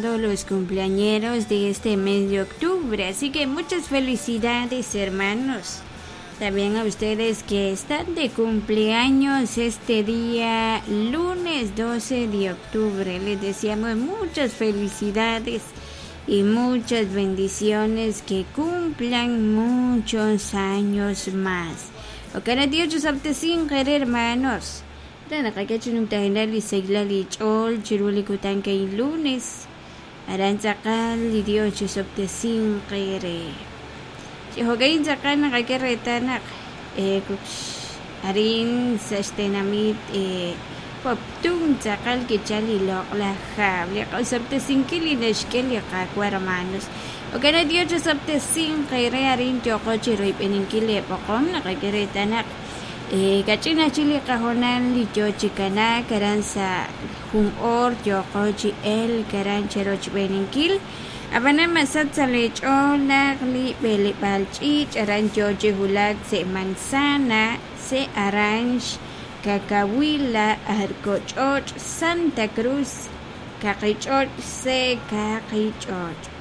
todos los cumpleañeros de este mes de octubre. Así que muchas felicidades, hermanos. También a ustedes que están de cumpleaños este día, lunes 12 de octubre. Les deseamos muchas felicidades y muchas bendiciones, que cumplan muchos años más. Hermanos. Lunes. Dios Chihogain tzaqal naqak'e arin sa' xtenamit Poptún tzaqal kichal li loq'laj hab' li q'osob'tesinkil li naxk'e li Qaawa' hermanos. Okana Dios chisob'tesinq eere arin yooqo chi royb'eninkil li b'oqom naqak'e reetal kach'in ajchik li qahoonal li yoo chi kanaak aran sa' jun oor yooqo chi elk aran cherochb'eninkil ab'anan masach sa' li ch'ool naq li b'eleb'aal ch'iich' aran yoo chi wulak se' Manzana, se' Aranx, Cacahuila, Arcoch'och', Santa Cruz, Kaqich'och' se' Kaqich'och'.